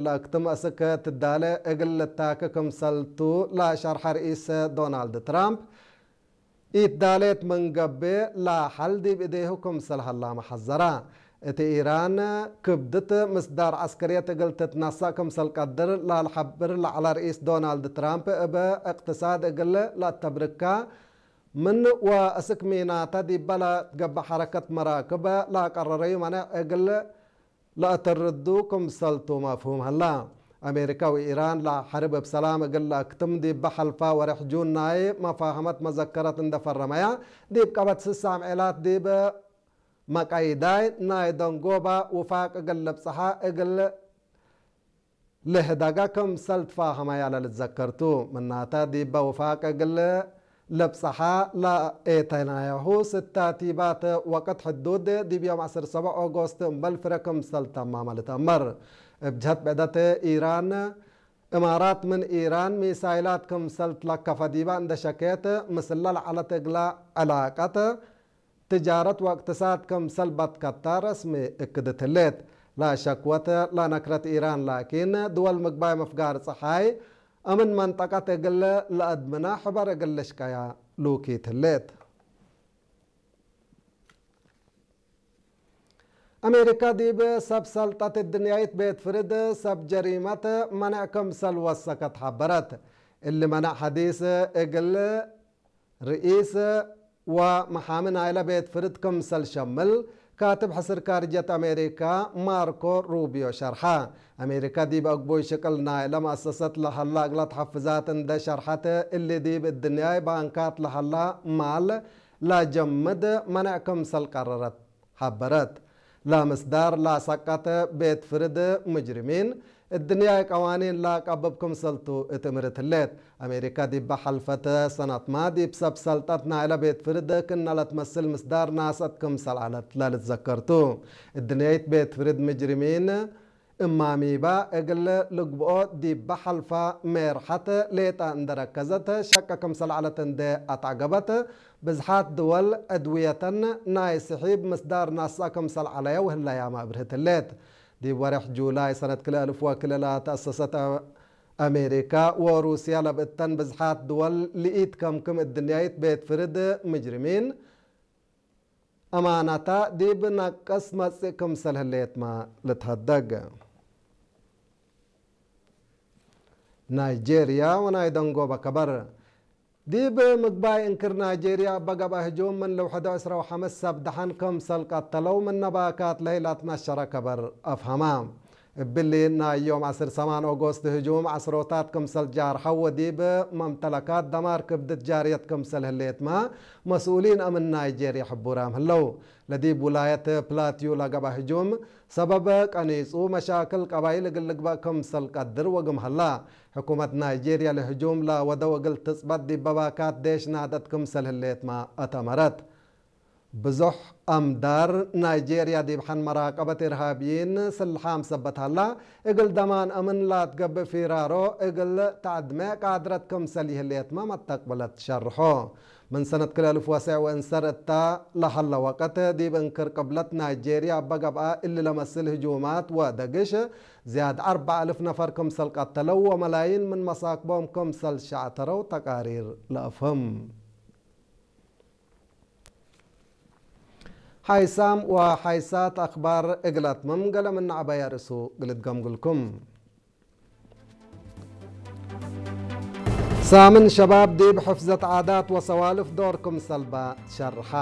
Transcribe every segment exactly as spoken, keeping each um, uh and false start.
ለአክትም አስክ ትዳለ እግል ልታከ ክምሰልቱ ለሸርሐ ርኢስ ዶናልድ ትራምፕ፣ ኢትዳሌት ምን ገብእ ለሐል ዲብ እዴሁ ክምሰል ሀላመ ሐዘራ። እት ኢራን ክብድት ምስዳር ዐስከርየት እግል ትትነሰእ ክምሰል ቀድር ላልሐብር ለዐለ ርኢስ ዶናልድ ትራምፕ፣ እብ እቅትሳድ እግል ለአተብርካ ምን ወእስክ ሚናተ ዲበ ለትገብእ ሐረከት መራክብ ለአቀረረዩ መነዕ እግል ለአተርዱ ክምሰልቱ መፍሁም ሀላ። አሜሪካ ወኢራን ለሐርብ እብ ሰላም እግል ለአክትም ዲበ ሐልፈ ወሬሕ ጁን ናይ መፋሀመት መዘከረት እንደ ፈረመያ፣ ዲብ ቀበት ስሳም ዔላት ዲብ መቀይዳይ ናይ ደንጎባ ውፋቅ እግል ልብጽሐ እግል ልህደጋ ክምሰል ትፋሀመያ ለልትዘከር ቱ። ምናተ ዲበ ውፋቅ እግል ልብጸሐ ለኤተናያሁ ስታቲባት ወቅት ሕዱድ ዲብ ዮም ዐስር ሰብዕ ኦጎስት እምበል ፍረ ክምሰል ተማመ ልትአመር። እብ ጀህት ብዕደት ኢራን፣ እማራት ምን ኢራን ሚሳይላት ክምሰል ትለከፈ ዲበ እንደ ሸኬት፣ ምስለ ለዐለት እግለ ዕላቀት ትጃረት ወእቅትሳድ ክምሰል በትከተ ረስሚ እክድት ህሌት። ለሸክወት ለነክረት ኢራን ላኪን፣ ድወል ምግባይ ምፍጋር ጸሓይ እምን መንጠቀት እግል ለአድምነ ሕበር እግል ልሽቀያ ሉኪት ህሌት። አሜሪካ ዲብ ሰብ ሰልጠት እድንያይት ቤት ፍርድ ሰብ ጀሪመት መነዕ ክምሰል ወሰከት ሐበረት። እሊ መነዕ ሐዲስ እግል ርኢስ ወመሓሚ ናይለ ቤት ፍርድ ክምሰል ሸምል፣ ካትብ ሕስር ካርጀት አሜሪካ ማርኮ ሩቢዮ ሸርሐ። አሜሪካ ዲብ አግቡይ ሽቅል ናይለ መአሰሰት ለሀላ እግለ ተሐፍዛት እንደ ሸርሐት፣ እሊ ዲብ እድንያይ ባንካት ለሀላ ማል ለጀምድ መነዕ ክምሰል ቀረረት። ሐበረት። ለምስዳር ለሰቀት ቤት ፍርድ ሙጅሪሚን፣ እድንያይ ቀዋኒን ለአቀብብ ክምሰልቱ እት እምርት ህሌት። አሜሪካ ዲበ ሐልፈት ሰነትመ ዲብ ሰብ ሰልጠት ናይለ ቤት ፍርድ ክእነ ለትመስል ምስዳር ናሰት ክምሰል ዐለት ለልትዘከር ቱ። እድንያይት ቤት ፍርድ ሙጅሪሚን እማሚባ እግል ልግብኦ ዲበ ሐልፈ ሜርሐት ሌጠ እንደ ረከዘት ሸቀ ክምሰል ዐለት እንዴ አትዐገበት፣ ብዝሓት ድወል ዕድውየተን ናይ ስሒብ ምስዳር ናስአ ክምሰል ዐለየ ወህለያመ አብርህት ህሌት። ዲብ ወሬሕ ጁላይ ሰነት ክልኤ አልፍ ወክልኤ ለተአሰሰት አሜሪካ ወሩስያ ለብእተን ብዝሓት ድወል ልኢት ከምክም እድንያይት ቤት ፍርድ ምጅርሚን፣ አማናታ ዲብ ነቅስ መጽእ ክምሰል ህሌትመ ልትሀደግ። ናይጄርያ ወናይ ደንጎበ ከበር። ዲብ ምግባይ እንክር ናይጄርያ እበ ገብአ ህጁም ምን ልውሕዶ ዕስራ ወሐምስ ሰብ ደሐን ክምሰል ቀተለው ምነ ባካት ለህይ ለትነሸረ ከበር አፍሀማ። እብሊ ናይ ዮም ዐስር ሰማን ኦጎስት ህጁም ዐስሮታት ክምሰል ጃርሐው ወዲብ መምተለካት ደማር ክብድት ጃርየት ክምሰል ህሌትመ መስኡሊን አምን ናይጄርያ ሕቡራም ህለው። ለዲብ ውላየት ፕላትዩ ለገብአ ህጁም ሰበብ ቀኒጹ መሻክል ቀባይል እግል ልግበእ ክምሰል ቀድር ወግም ሀላ። ሕኩመት ናይጄርያ ለህጁም ለወደው እግል ትጽበጥ ዲብ ባካት ዴሽ ናደት ክምሰል ህሌትመ አተመረት። ብዙሕ አምዳር ናይጄርያ ዲብ ሐን መራቀበት ኢርሃብይን ስልሓም ሰበት ሀላ፣ እግል ደማን አምን ለአትገብእ ፊራሮ እግል ተአድመ ቃድረት ክምሰል ይህሌትመ መተቅብለት ሸርሖ። ምን ሰነት ክልኤ አልፍ ወሰዕ ወእንሰር እተ ለሀለ ወቀት፣ ዲብ እንክር ቅብለት ናይጄርያ እበ ገብአ እሊ ለመስል ህጁማት ወደግሽ፣ ዝያድ አርበዕ አልፍ ነፈር ክምሰል ቀተለው ወመላይን ምን መሳክቦም ክምሰል ሸዕተረው ተቃሪር ለአፍህም። ሓይሳም ወሓይሳት አክባር እግል አትምም፣ ገሌ ምን ዐበየ ርእሱ እግል እትገምግልኩም። ሳምን ሸባብ ዲብ ሕፍዘት ዓዳት ወሰዋልፍ ዶር ክምሰልበ ሸርሐ።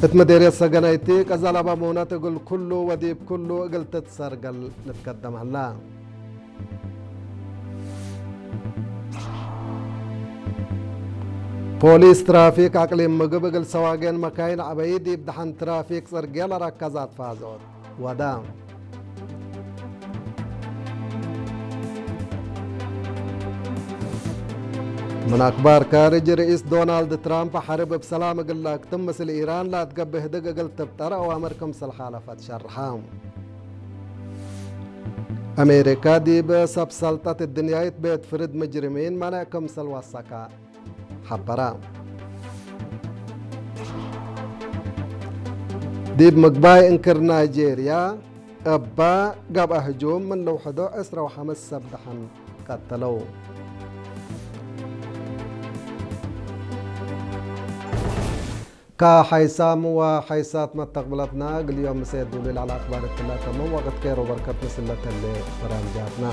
እት መዴርየት ሰገናይቲ ቀዘለበ ሙነት እግል ኩሉ ወዲብ ኩሉ እግል ትትሰርገል ልትከደም ሀላ። ፖሊስ ትራፊክ አቅሊም ምግብ እግል ሰዋጌን መካይን ዐበዪ ዲብ ደሐን ትራፊክ ጽርግየ ለረከዛት ፋዞት ወዳ። ምን አክባር ካርጅ፣ ርኢስ ዶናልድ ትራምፕ ሐርብ እብ ሰላም እግል ለአክትም ምስል ኢራን ለአትገብእ ህድግ እግል ትብጠር አዋምር ክምሰል ሓለፈት ሸርሐ። አሜሪካ ዲብ ሰብ ሰልጠት እድንያይት ቤት ፍርድ ምጅርሚን መነዕ ክምሰል ወሰከ ሐበረ። ዲብ ምግባይ እንክር ናይጄርያ፣ እበ ገብአ ህጁም ምን ልውሕዶ ዕስራ ወሐምስ ሰብ ደሐን ቀተለው። ከሐይሳም ወሐይሳት መተቅብለትና፣ እግል ዮም ምሴ ዱሉይ ለዐለ አክባር እትለ ተምም ወቅት ኬር ወበርከት ምስል ለተሌ በራምጃትና።